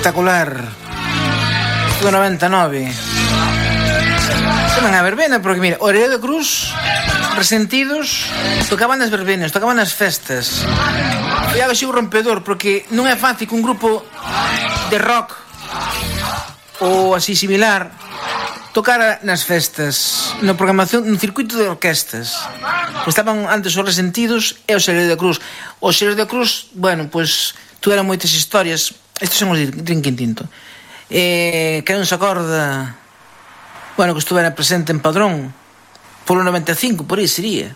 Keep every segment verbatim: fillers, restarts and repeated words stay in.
espectacular. Do noventa e nove. Toman a verbena, porque mira, Orelleo de Cruz, Resentidos, tocaban nas verbenas, tocaban nas festas. Foi algo así rompedor, porque non é fácil que un grupo de rock ou así similar tocara nas festas, na programación, no circuito de orquestas. Estaban antes os Resentidos e os Orelleo de Cruz. Os Orelleo de Cruz, bueno, pois tuveran moitas historias. Estes son os de Drinking Tinto. Eh, que non se acorda, bueno, que estuvera presente en Padrón polo noventa e cinco, por aí sería,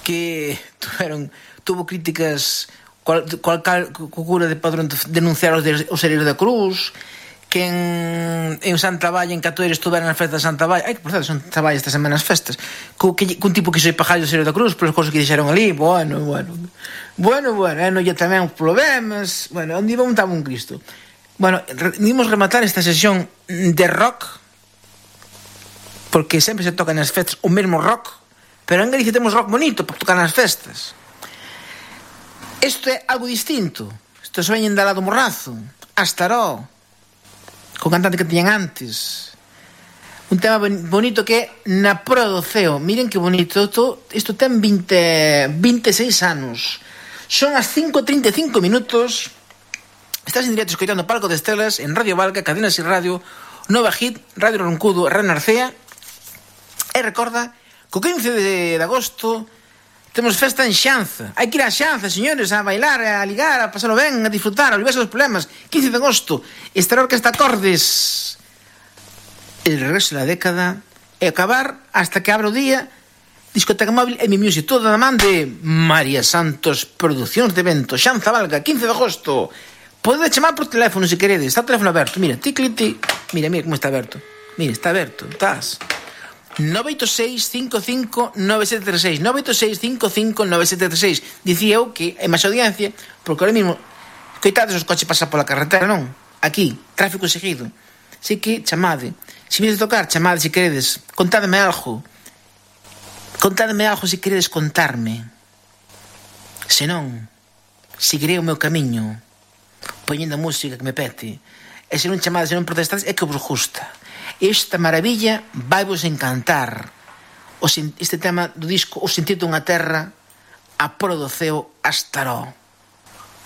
que tuveron, tuvo críticas cual, cual, cual cura de Padrón de denunciar os, de, os Orelleo de Cruz, que en, en Santa Valla, en Catoira, estuveran nas festas de Santa Valla. Ai, que por certo, son Santa Valla esta semana as festas, que, que, que un tipo que se pagar os Orelleo de Cruz polas cousas que dixeron ali. Bueno, bueno bueno, bueno, eh, non lle tamén problemas. Bueno, onde iba montaba un Cristo. Bueno, dimos rematar esta sesión de rock, porque sempre se toca nas festas o mesmo rock, pero en Galicia temos rock bonito para tocar nas festas. Isto é algo distinto. Isto se veñen da lado Morrazo, Astaró, co cantante que tiñan antes. Un tema bonito que é Na Proa do Ceo. Miren que bonito. Isto, isto ten vinte, vinte e seis anos. Son as cinco e trinta e cinco minutos. Estás en directo escoitando Palco de Estelas en Radio Valga, Cadenas y Radio, Nova Hit, Radio Roncudo, Radio Narcea. E recorda que o quince de agosto temos festa en Xanza. Hai que ir a Xanza, señores, a bailar, a ligar, a pasarlo ben, a disfrutar, a olvidarse dos problemas. quince de agosto, estará a Orquesta Acordes. El regreso de la década e acabar hasta que abra o día Discoteca Móvil e Mi Music, toda da man de María Santos Producións de Evento. Xanza Valga, quince de agosto. Podedes chamar por teléfono se queredes. Está o teléfono aberto, mira, ti, ti, ti. Mira, mira como está aberto. Mira, está aberto, estás nove oito seis, cinco cinco, nove sete tres seis nove oito seis, cinco cinco, nove sete tres seis. Dicía eu que é máis audiencia, porque ahora mesmo coitades os coches pasar pola carretera, non? Aquí, tráfico seguido. Así que chamade. Se vides tocar, chamade se queredes. Contádeme algo. Contádeme algo se queredes contarme. Se non, seguirei o meu camiño poñendo a música que me pete. E se non chamades, se non protestades, é que vos gusta. Esta maravilla vai vos encantar. O, este tema do disco O Sentido dunha Terra, A Proa do Ceo, Astaró.